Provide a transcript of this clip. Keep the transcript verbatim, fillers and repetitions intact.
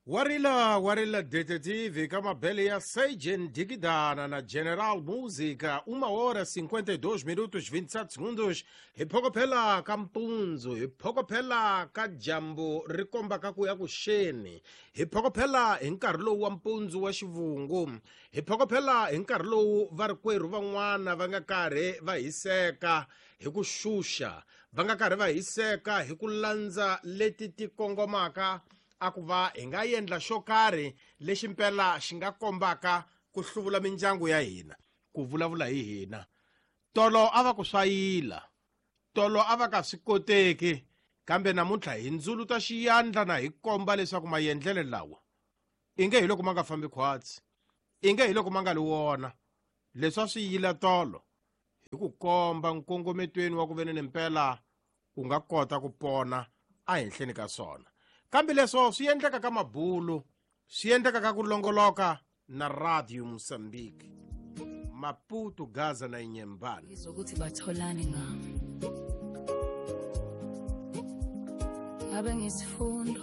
Warila warila detetive ka mabele ya Seijen Digidana na General Música, uma hora cinquenta e dois minutos vinte e sete segundos. Hi phokophela ka mpundzu, hi phokophela ka dyambu ri kombaka ku ya ku xeni, hi phokophela hi nkarhi lowu wa mpundzu wa xivungu, hi phokophela hi nkarhi lowu varikwerhu van'wana va nga karhi va hiseka hi ku xuxa, va nga karhi va hiseka hi ku landza leti ti kongomaka a ku va hi nga endla xo karhi lexi mpela xi nga kombaka ku hluvula mindyangu ya hina, ku vulavula hi hina. Tolo a va ku swayila, tolo a va ka swi koteki, kambe namuntlha hi ndzuluta xiyandla na hi komba leswaku maendlelo lawa inge hi loko ma nga fambi khwatsi, inge hi loko ma nga li wona. Leswi a swi yila tolo hi ku komba nkongometweni wa ku venene mpela u nga kota ku pona ehenhleni ka swona. Kambe leswo swi endleka ka mabulu, swi endleka ka ku longoloka na Radio Mozambique, Maputo, Gaza na Inhambane. Izokuthi batholane ngami. Ngabe ngisifundo